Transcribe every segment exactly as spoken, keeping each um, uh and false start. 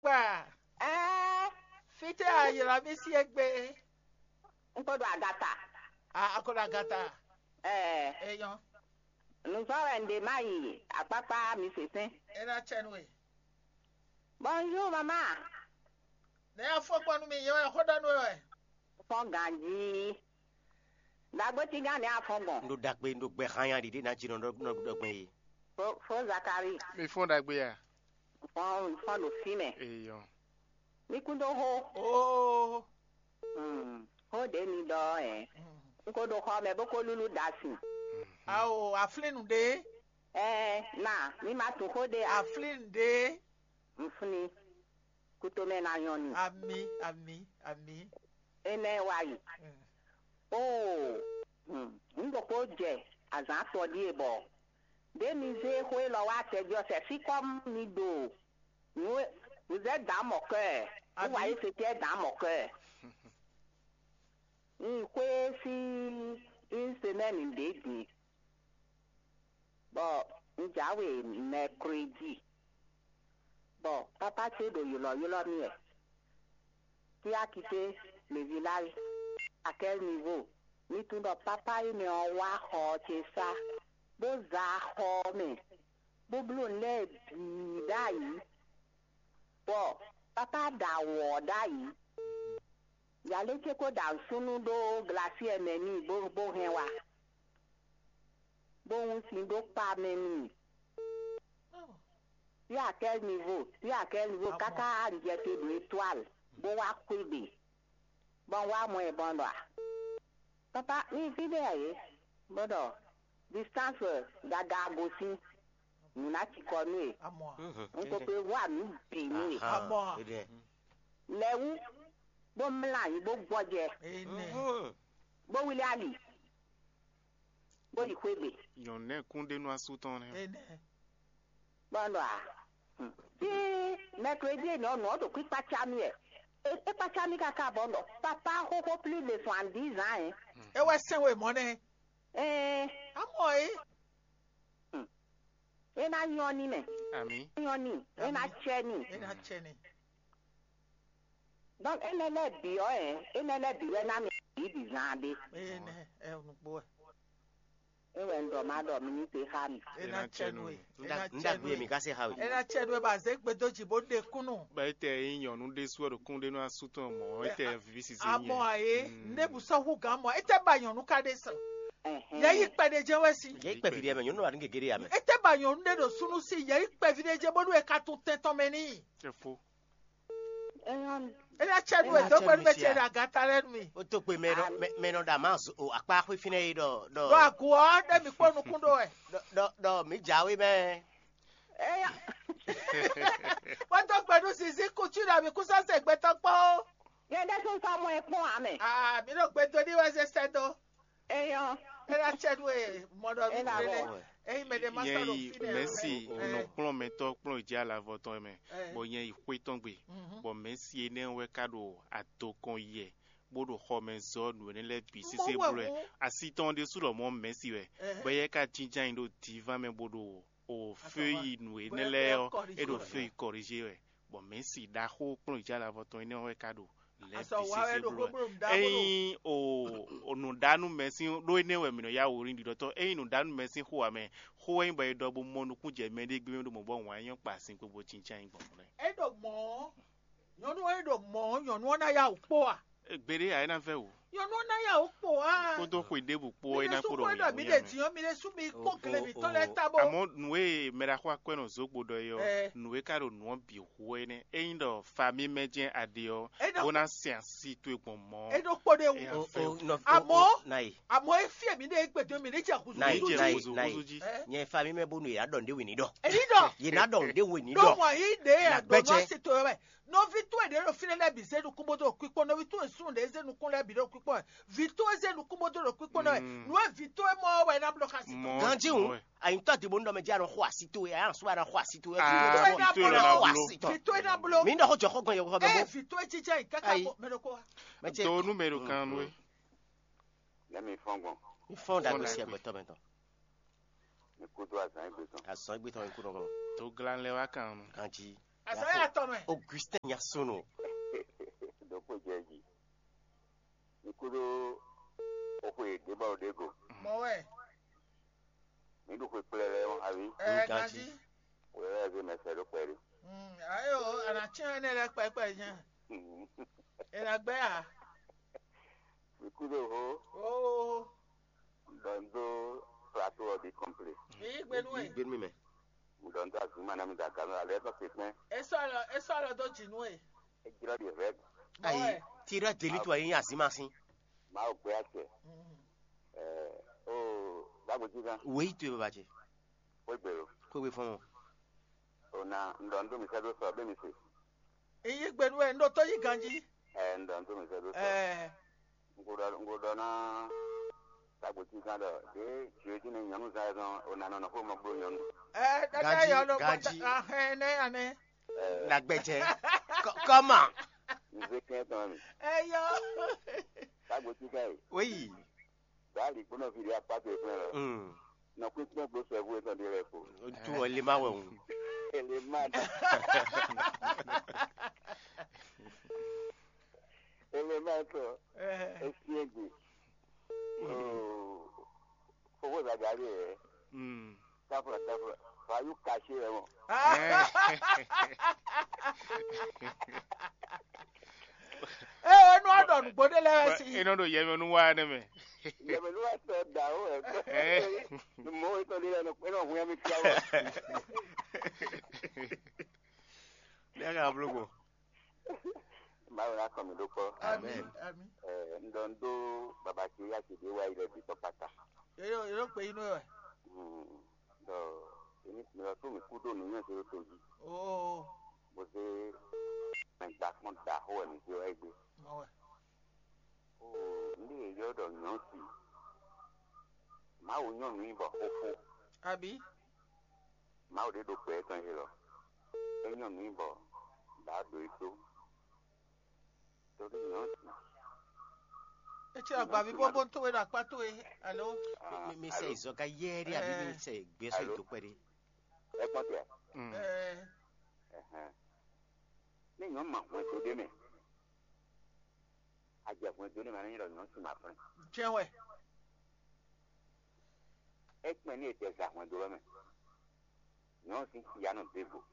Kpa, ɛɛ, fítɛ́ a ylɔ́ mì sí égbé? Un ko ɖo agata. A a ko ɖo agata. Ɛɛ, Eyɔn, nǔzɔ́ wɛ un ɖe má yi akpákpá mi sésɛn. É ná cɛ nú we. Bonjour, maman. Nɛ̌ afɔkpɔnu mi yɛ wɛ xó ɖɔ nú we wɛ? Fɔ́n ganjí. Ɖagbótígán nɛ̌ afɔn gbɔn? Un ɖo ɖagbe, un ɖo gbɛ hanya ɖiɖe ná jí nɔ ɖɔ gbɛn e. Fó Zakari. Mi fɔ́n ɖagbe a? Fɔ́n fɔ́n ɖo fí mɛ. Eyɔn. Mi kún dó xó. Oo. Hmm, xó ɖě mi ɖɔ ɔ́ hɛn. Un ko ɖo xɔ mɛ bó ko lúlú ɖa sin. Ao, aflín nǔɖé. Ɛɛ, na, mi ma tunwun xó ɖé a? Aflín nǔɖé. Un flín. Kutomɛ ná nyɔ́ ni. Amǐ, amǐ, amǐ. Énɛ́ wá yi. Mm. Oo, hmm, un ɖokpó jɛ azǎn atɔn ɖíe bɔ ɖě mi zé xó élɔ́ wá acɛjɔsɛ fí kɔ́ mi ɖo nǔ e vous êtes dans mon cœur, vous voyez ce qui est dans mon cœur. Un xwé sín une semaine ɖě din, bɔ un jǎwe mercredi, bɔ papa ce ɖo ylɔ̌ylɔ́ mì wɛ. Qui a quitté le village? À quel niveau? Mi tunwun ɖɔ papa énɛ́ ɔ́ wá xɔ ɔ́ ce sá, bó za xɔ ɔ́ mɛ, bó bló nǔ lɛ́ɛ bǐ ɖ'ayǐ, bɔ papa ɖa wɔ̌ ɖ'ayǐ. Yalé ce ko ɖa nǔsúnnú ɖó glasiɛ mɛ n'i bó bó hɛn wá, bó hun sin ɖó kpa mɛ n'i. Sur à quel niveau? Sur à quel niveau? Káká un jɛ te ɖo étoile, bó wá xwé gbe, bɔ un wá mɔ ɛ bɔ un ɖɔ a? Papa, mi fí ɖé a yě? Bó ɖɔ distance gaga gosín, nǔ ná cikɔ nú e. Amɔ a? Un ko pe wá nǔ bǐ nú e. Amɔ a? Lɛ wú, bó mlá anyi, bó gbɔjɛ, Enɛ. Bó wlí ali, bó yi xwé gbe. Nyɔ̌nu nɛ́ kún ɖe nú asú tɔn nɛ́. Enɛ. Bɔ un ɖɔ a? Tí mɛklodí e nɔ nɔ ɖo kpíkpácá mì wɛ. É kpácá mì káká bɔ un ɖɔ papa xóxó plus de soixante-dix ans ɛ. É wɛ sɛn we mɔ nɛ. Ɛɛ, Amɔ e. É ná nyɔ́ ní mɛ. Amǐ. É nyɔ́ ní. É ná cɛ ní. É ná cɛ ní. Donc énɛ́ lɛ́ɛ bǐ ɔ́, ɛ énɛ́ lɛ́ɛ bǐ wɛ ná mi bǐ bǐ zán ɖé. Énɛ́ ɛ nukpó wɛ. É wɛ un ɖɔ má ɖɔ mi ní se xá mi. É ná cɛ nú we. É ná cɛ nú we. Mi ka se xá we. É ná cɛ nú we bɔ azě gbedo jǐ bó ɖe kúnnú. Bɔ étɛ nyí nyɔ̌nu ɖésú ɔ́ ɖo kún ɖé nú asú tɔn mɔ̌, étɛ viví sisi nyɛ. Amɔ ayé, ndé bu sɔ́ hú gǎn mɔ, étɛ ba nyɔ̌nu ka ɖe sɔ. Yɛ yi kpɛɖé jɛ wɛ si. Yɛ yi kpɛvi ɖe mɛ, nyɔ̌nu wa ní gègé ɖe ya mɛ. Étɛ ba nyɔ̌nu ɖé ɖo súnú sí, yɛ yi kpɛvi ɖé jɛ bónú e ka tún tɛn tɔn mɛ n'i. É fó. Éyɔ́, É ná cɛ nú we dó gbe nú mɛ ce ɖo agata lɛ́ɛ nú mi. Ó tó gbe mɛ nɔ mɛ- mɛ nɔ ɖo amá o akpá xwé fínɛ́ é ɖɔ ɖɔ Ɖo agu ɔ́, ɖé mi kpó nukún ɖó wɛ. Ɖɔ- ɖɔ ɖɔ mǐ jǎwe mɛ. Éyɔ́, Wọ́n tó gbe nú Zizi kutu ɖo mi kú sɔ́sɛ gbɛtɔ́ kpó. Yɛ ɖésú sɔ́ mɔ ɛ kpɔ́n ǎ mɛ. Aa, mi ɖo gbe dó ní wɛ zé sɛ́ dó. Eyɔ́. É ná cɛ nú e mɔ ɖɔ É ná nú bɔ. Lé. Eyi mɛ ɖé ma sɔ́ ɖo Yɛn yi fínɛ́. Mɛ̌si nɔ kplɔ́n mɛtɔ́ kplɔ́n yi jɛ alavɔ tɔn mɛ, bɔ yɛn yi xwé tɔn gbe, bɔ Mɛ̌si énɛ́ wɛ ka ɖo adokɔn yɛ, bó ɖo xɔ mɛ zɔ́ nǔ énɛ́ lɛ́ɛ bǐ sésé bló wɛ. Asi tɔn ɖésú lɔmɔ̌ Mɛ̌si wɛ, bɔ yɛ ka jínjɔ́n ayǐ ɖo dǐván mɛ bó ɖo o fé yi nǔ énɛ́ lɛ́ɛ ɔ́, é ɖo fé yi kɔrízé wɛ, bɔ Mɛ̌si ɖaxó kplɔ́n yi jɛ alavɔ tɔn énɛ́ wɛ ka ɖo lɛ̌ bǐ sésé bló wɛ. Ényí o nǔɖánú mɛ sín ɖó énɛ́ wɛ mǐ nɔ yá wǔ rin ɖiɖɔtɔ́. Ényí nǔɖánú mɛ sín xó ǎ mɛ, xó wɛ nyí bɔ è ɖɔ bó mɔ nukún jɛ mɛ ɖé gbé ɖo mɔ bɔ wǎn nyɔ́ kpa sin kpo bó cíncán nyí gbɔn mɔ̌ lɛ́ɛ. É ɖo mɔ̌, nyɔ̌nu ɔ́ é ɖo mɔ̌, nyɔ̌nu ɔ́ ná yá wǔ kpó a? Gbeɖé ǎ é ná vɛ́ wǔ. Nyɔ̌nu ɔ́ ná yá wǔ kpó a? Kódó xwe ɖěbǔ kpó ɔ́ é ná kpo ɖo wǔ. Mi ɖe dǐn ɔ́, mi ɖe sú mi kpó gleví tɔn lɛ́ɛ ta bó. Àmọ́ nǔ e mɛ ɖaxó akwɛ́nɔ Zogbo ɖɔ é ɔ́, nǔ e ka ɖo nǔ ɔ́ bǐ hu wɛ nɛ́. Ényí ɖɔ fa mímɛ́ jɛ́n a ɖe ɔ́, bó ná sɛn asi towe gbɔn mɔ̌. É ɖó kpó ɖé wú. Àmọ́, àmọ́ é fí èmi ɖe gbèdó mi ní jẹ kúzú. Ní jẹ kúzú kúzú jí. Nyɛ fa mímɛ́ bónú yě ná ɖɔ nǔɖé wě ní ɖɔ. Èyí ɖɔ. Yě ná ɖɔ nǔɖé wě ní ɖɔ. Ɖó wọ́n yí ɖe àgbọ̀nú asi towe wɛ. Nɔví towe ɖě ɖo fínɛ́ lɛ́ɛ bǐ zé nukún bó dó ɖo kpíkpɔ́n, nɔví towe súnnu ɖě zé nukún lɛ́ɛ bǐ ɖo kpíkpɔ́n wɛ. Vǐ towe zé nukún bó dó ɖo kpíkpɔ́n lɛ́ɛ wɛ. Nǔ e vǐ towe mɔ ɔ́ wɛ é ná bló xá sí tɔn. Ganjí hǔn, àyíntɔ dìbò ńdɔ mɛ jẹ́ àrùn xó àsí towe, àyà sùn àrùn xó àsí towe. Vǐ towe ná bló. Vǐ towe ná bló. Vǐ towe ná bló. Mí ná xó jɔ xó gan yɔkɔ Ɛ bɔ. Vǐ towe jijɛ yìí káká Ayi. Bɔ mɛ ɖokó wa. Mɛ ce. To nu mɛ ɖo kan nu e. Lɛ mi fɔn gbɔn. Ifɔn dagbe si agbɛtɔ mɛ tɔn. Mi kú dó azán egbe tɔn. Azɔn egbe tɔn ikú nɔgɔn. To glan lɛ wa kan nu. Ganjí. Azaya tɔn mɛ. Augustin Yasono. Ɖokpó jɛ jí. Mi kúɖó oxwe ɖěbɔ ɖěgo. Mɔ wɛ. Mi ɖu xwe kplɛlɛ ɔ́, avi. Ɛ Ganji. Ganji. Wɛ wɛ zé mɛ sɛ ɖó kpɛɖé. Mm, ayo, ana tiɲɛ ne lɛ kpɛkpɛ nyɛ. E na gbɛ a? Mi kúɖó ho. Oh. Ɖɔ n dó plateau ɔ́ bǐ kɔnplé. Yi gbenu e. Gbenu mɛ. N dɔ n dó azǐn ma ná mi da gǎn alɛ tɔn se kpɛn. E sɔlɔ e sɔlɔ dó jinu e. E jlɔ ɖi hɛd. Ayi, tira deli to ayi azima sin. Ma o gbé acɛ. Ɛɛ o dagbo jí kan. Wei to e baba ce. Wé gbé lo. Kó wé fɔn. O na n dɔ n dó mi sɛ dó sɔ bɛ mi se. Iye gbenu e n ɖo tó yi ganji. Ɛɛ n dɔ n dó mi sɛ dó sɔ. Ɛɛ. N ko ɖɔ n ko ɖɔ ná tagbo cí gán ɖɔ ɖě jǒ jí nɛ nyɔ̌nu zán ɛ zɔn o nǎ nɔ nɔ xó mɔ bló nyɔ̌nu. Ɛ ɖaɖa Ganji, yɔ nɔ Ganji. Gbata ahɛn nɛ anɛ. Ɛ Nagbɛjɛ. Kɔ- Kɔma. N zé kɛn tɔn mi. Eyɔ. Tagbo cí gán yi. Oyi. Bá lǐ kpónɔ fi ɖé akpá tó ìpínlẹ̀ lọ. Mm. Nɔ kpínkpɔ́n gbó sɛ́vú etɔn ɖé lɛ́ɛ kpo. Tu ɔ lè má wẹ̀ hùn. Ele má dá. Ele má tɔ. Esi egbe. Fofo zagari ɛ. Mm. Tafla tafla. Fayu kasi ɛ mɔ. Ee, enú aɖɔ nǔgbó ɖé lɛ́ɛ wɛ sí. E nɔ ɖo yɛmɛnu wa ne mɛ. Yɛmɛnu wa tɔ da o ɛ. Mɔ etɔn ɖé lɛ nɔ hu yɛmi fia wa. Lɛ ka blo ko. Mawu na kɔ mi ɖó kpɔ. Amen. Amen. Ɛ n dɔ n dó baba ce ya ce ɖé wa yi lɛ bi tɔ kpata. Yóò yóò pé inú ẹ. Dɔ èmi mi lọ tó mi kú dó nǔnyɛ tó tó jí. Oo. Bó ṣe mɛ gbà kpɔn da xó wɛ mi fi wá gbé. Mɔ wɛ. Oo, ní èyí ọ̀dọ̀ yàn sí. Mawu nyɔnu yìí bɔ xóxó. Àbí? Mawu ɖé ɖo gbɛ tɔn yìí lɔ. É nyɔnu yìí bɔ bǎ ɖo yìí tó. Torí yàn sí. Etsɛ agbavi bóbó tó wé ɖo akpá tó wé alo. Mi mi sɛ izɔ ka yɛ ɖi àbí mi sɛ gbé sɔ ìdókpɛ ɖi. Ẹ kpɔn tɛ. Mm. Ɛ Ɛhɛn. Ní nyɔnu ma hwɛndo ɖé mɛ. Ajɛ hwɛndo ɖé mɛ ní nyɔnu si ma flɛn. Jɛn wɛ. Ekpɛn ní etɛ za hwɛndo lɔ mɛ. Nyɔnu si ya nɔ dé go.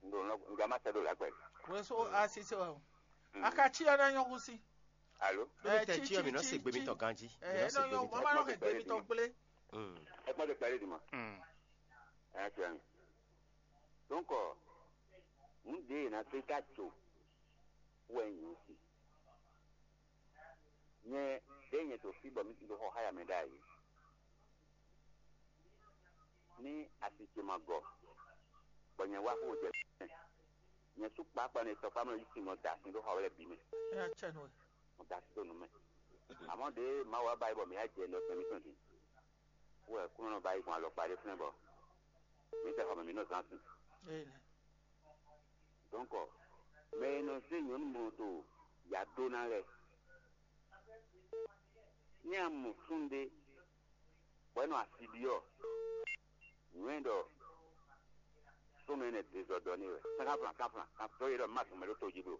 Ndo nɔ ndo ma sɛ do la gbɛ. Wɛso asise wɛ o. Akachi ya na nyɔgu si. Alo. Ɛ tɛ chi mi nɔ se gbe mi tɔ ganji. Ɛ nɔ yɔ mama nɔ se gbe mi tɔ gble. Ẹ kpɔn de kpɛlɛ di ma. Ɛ tiɛ mi. Donc, un de na se ka tso wɛ nyɔ si. Nyɛ ɖe nyɛ to fi bɔ mi ɖo xɔ xá ya mɛ ɖ'ayǐ. Ní asi ce ma gɔ, bɔ nyɛ wá xó jɛ mɛ. Nyɛ sú kpákpá ne tɔkpá mɛ yí sin nɔ da sin ɖó xɔ wɛ lɛ bǐ mɛ. Ɛ atsɛ nɔ. Mo da sin ɖó nu mɛ. Àmọ́ ɖe Mawu wá ba yi bɔ mǐ á jɛ nɔ sɛn mǐtɔn din. Wɛ kúnɔ nɔ ba yi gbɔn alɔkpa ɖé flɛ́n bɔ mǐ tɛ xɔ mɛ mǐ nɔ zán sin. Ee nɛ. Donc, mɛ e nɔ zé nyɔ̌nu mlɔto ya dó ná lɛ́ɛ. Ní a mɔ súnnu ɖé, bɔ é nɔ asi ɖi ɔ́, nǔ e ɖɔ súnnu énɛ́ dezɔdɔ n'i wɛ. Sɛ́n xá flan, xá flan, xá tɔ́ e ɖɔ má dɔn mɛ ɖó to jí blo.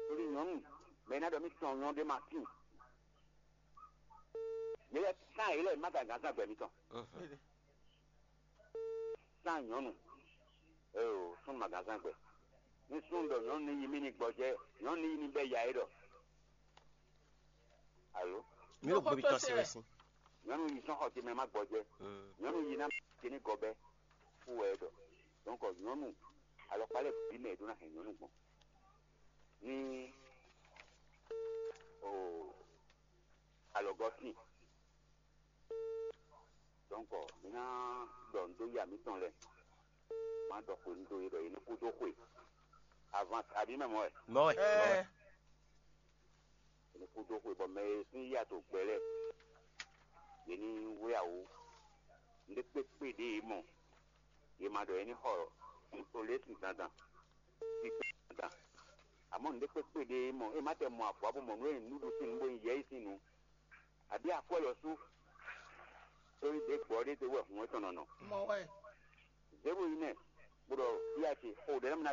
Tóli nyɔ̌nu, mɛ e ná ɖɔ mì tɔn nyɔ̌nu ɖé ma tín. Yě lɛ́ sán yě lɛ́ má gǎn gǎn zán gbɛ mitɔn. Sán nyɔ̌nu, eo, súnnu ma gǎn zán gbɛ. Ní súnnu ɖɔ nyɔ̌nu ní yí mì ní gbɔjɛ́, nyɔ̌nu ní yí ní bɛ́ ya é ɖɔ. Alo? Mi ɖo gbébi tɔn se wɛ sín. Nyɔ̌nu yí sɔ́n xɔ ce mɛ má gbɔjɛ́. Nyɔ̌nu yí ná ce ní gɔbɛ́. Fú wɛ é ɖɔ. Donc nyɔ̌nu alɔkpa lɛ́ɛ bǐ mɛ è ɖó ná hɛn nyɔ̌nu gbɔn. Ní o alɔgɔ́ sin. Donc mi ná ɖɔ nǔ dó ya mǐtɔn lɛ́ɛ. Má ɖɔ xwe nú dó yě ɖɔ yě ní kú dó xwe. Avance abǐ mɛ mɔ wɛ. Mɔ wɛ. Ɛ Yě ní kú dó xwe bɔ mɛ e sín yí ato gbɛ lɛ́ɛ, yě ní wlí awǒ. Nǔɖé kpékpé ɖě yě mɔ, yě ma ɖɔ yě ní xɔ olěsin dandan, kpíkpé dandan. Amɔ̌ nǔɖé kpékpé ɖě yě mɔ, é má tɛ mɔ avɔ bó mɔ nǔ e nǔɖuɖu sín nǔ bó nyí yɛ̌yi sín nǔ, abǐ akwɛ́ lɔ sú. Tóli ɖě gbɔ ɖé te wɛ hǔn etɔn nɔ nɔ. Mɔ wɛ. Zěro yi nɛ. bó ɖɔ yá ce o ɖɛ̌ nɔ mɛ ná